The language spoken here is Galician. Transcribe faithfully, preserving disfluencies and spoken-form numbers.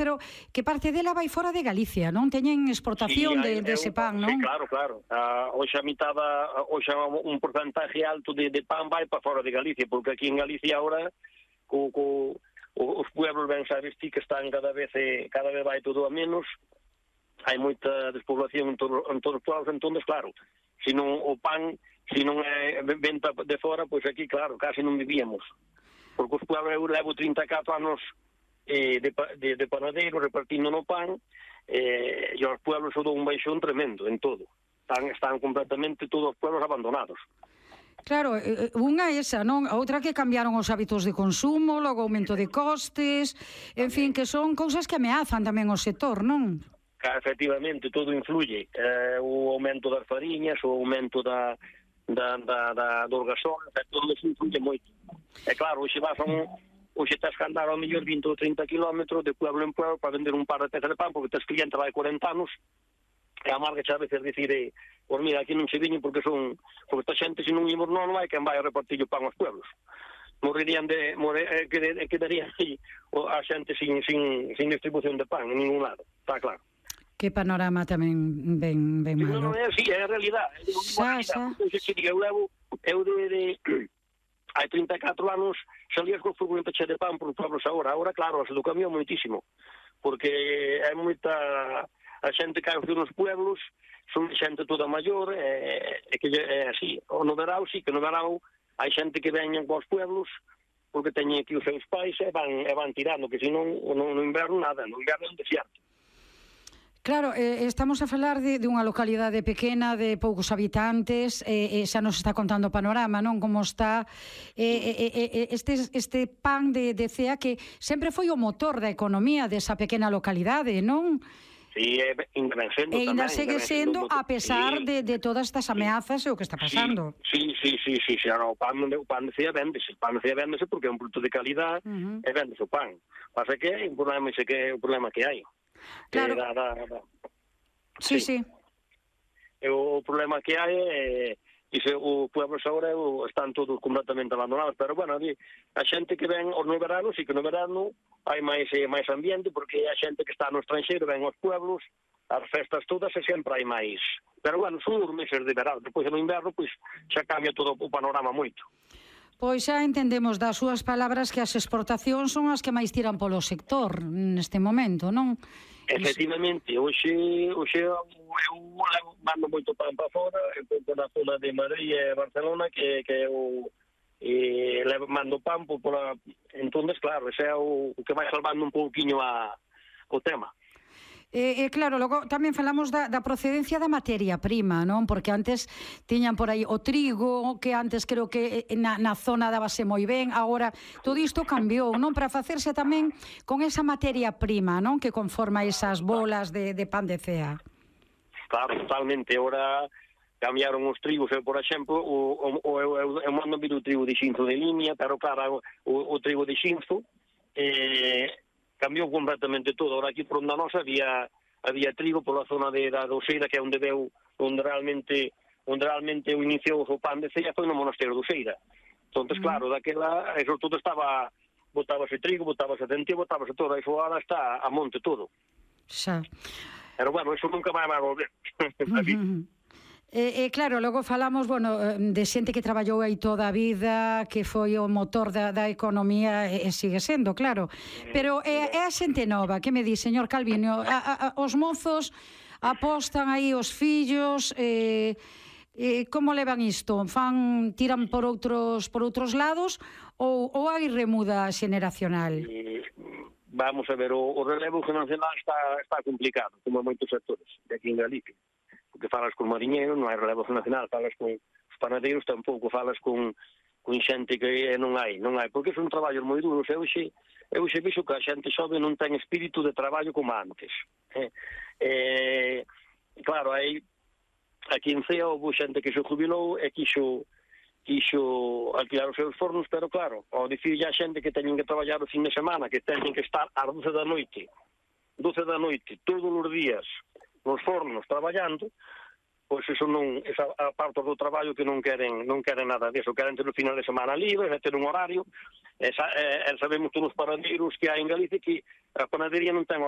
pero que parte dela vai fora de Galicia, non? Teñen exportación sí, de, de ese pan, non? Sí, claro, claro. Uh, hoxe a mitad, hoxe un porcentaje alto de, de pan vai para fora de Galicia, porque aquí en Galicia ahora co, co, os pueblos, ben sabes ti, que están cada vez, cada vez vai todo a menos, hai moita despoblación en, todo, en todos os pueblos, entón, claro, se non o pan, se non é venta de fora, pois aquí, claro, casi non vivíamos. Porque os pueblos, eu levo trinta e catro anos eh, de, de, de panadeiro, repartindo no pan, eh, e os pueblos son un baixón tremendo en todo. Están, están completamente todos os pueblos abandonados. Claro, unha é esa, non? A outra que cambiaron os hábitos de consumo, logo aumento de costes, en fin, que son cousas que ameazan tamén o sector, non? Efectivamente, todo influye. Eh, o aumento das fariñas, o aumento da, da, da, da, dos gasóns, todo isso influye moito. É claro, hoxe vas a un... Hoxe tens que andar ao mellor vinte ou trinta kilómetros de pueblo en pueblo para vender un par de pezas de pan, porque tes cliente vai corenta anos, e a marca xa a veces dicir, eh, por mira, aquí non se viñen porque son... Porque esta xente, se non imos non, non hai quen vai a repartir o pan aos pueblos. Morirían de... More, eh, quedarían aí a xente sin, sin, sin distribución de pan en ningún lado, está claro. Que panorama tamén ben, ben malo. Non, non é así, é a realidade. Xa, xa. Eu levo, eu de, de hai trinta e catro anos salías con furgoneta che de pan por os pueblos agora. Agora, claro, se do cambio moitísimo, porque é moita a xente que hai nos pueblos, son xente toda maior, é, é que é así. O no verao, sí, que no verao hai xente que veñen cos pueblos porque teñen aquí os seus pais e van, e van tirando, que senón no, no inverno nada, no inverno é un desierto. Claro, eh, estamos a falar de, de unha localidade pequena, de poucos habitantes, e eh, eh, xa nos está contando o panorama, non? Como está eh, eh, eh, este, este pan de, de Cea, que sempre foi o motor da economía desa pequena localidade, non? Sí, e ainda sendo e ainda tamén, segue sendo, a pesar sí, de, de todas estas ameazas e o que está pasando. Sí, sí, sí, sí, sí, sí. O pan, o pan de Cea véndese, o pan de Cea véndese porque é un produto de calidad, uh-huh, e véndese o pan. Pasa que é un problema, ese que é o problema que hai. Claro. Eh, da, da, da. Sí, sí. sí. O problema que hai é que os pueblos agora están todos completamente abandonados, pero bueno, a xente que ven no verano, sí que no verano hai máis, máis ambiente, porque a xente que está no estranxeiro ven aos pueblos, as festas todas e sempre hai máis. Pero bueno, son os meses de verano, depois no inverno pois xa cambia todo o panorama moito. Pois xa entendemos das súas palabras que as exportacións son as que máis tiran polo sector neste momento, non? Efectivamente, hoxe, hoxe eu, eu mando moito pan para fora, por a zona de Madrid e Barcelona, que, que eu e, mando pan por, por a, entonces, claro, ese é o, o que vai salvando un pouquiño a, o tema. Eh, eh, claro, logo tamén falamos da, da procedencia da materia prima, non? Porque antes tiñan por aí o trigo, que antes creo que na, na zona dábase moi ben, agora todo isto cambiou, non? Para facerse tamén con esa materia prima, non? Que conforma esas bolas de, de pan de Cea. Claro, totalmente. Agora cambiaron os trigos, eu, por exemplo, o, o, o, eu, eu mando vir o trigo de xinzo de línea, pero claro, o, o trigo de xinzo eh, cambiou completamente todo. Ahora aquí por onde nós había había trigo pola zona de da Doceira, que é onde deu, onde realmente onde realmente o iniciou o pan de Cea foi no monasterio de Doceira. Entonces, mm. claro, daquela, eso todo estaba, botábase trigo, botábase centeo, botábase todo, e ahora está a monte todo. Xa. Pero bueno, eso nunca vai a volver. Uh-huh. E, eh, claro, logo falamos, bueno, de xente que traballou aí toda a vida, que foi o motor da, da economía, e, e sigue sendo, claro. Pero é, é a xente nova, que me di, señor Calviño, a, a, os mozos apostan aí os fillos, eh, eh, como levan isto? Fan, tiran por outros por outros lados ou, ou hai remuda xeneracional? Eh, vamos a ver, o, o relevo xeneracional está, está complicado, como moitos sectores de aquí en Galicia. Porque falas con mariñeiros, non hai relevo nacional, falas con os panadeiros, tampouco falas con, con xente que non hai, non hai, porque son traballos moi duros. Eu xe, eu xe vixo que a xente xove non ten espírito de traballo como antes. Eh, eh, claro, hai aquí en Cea houve xente que se jubilou e quixo, quixo alquilar os seus fornos, pero claro, ao dicir a xente que teñen que traballar o fin de semana, que teñen que estar ás doce da noite, doce da noite, todos os días, nos fornos traballando, pois eso non, esa a parte do traballo que non queren, non queren nada disso, queren ter o final de semana libre, ter un horario, e, e, e sabemos todos os panadeiros que hai en Galicia que a panadería non ten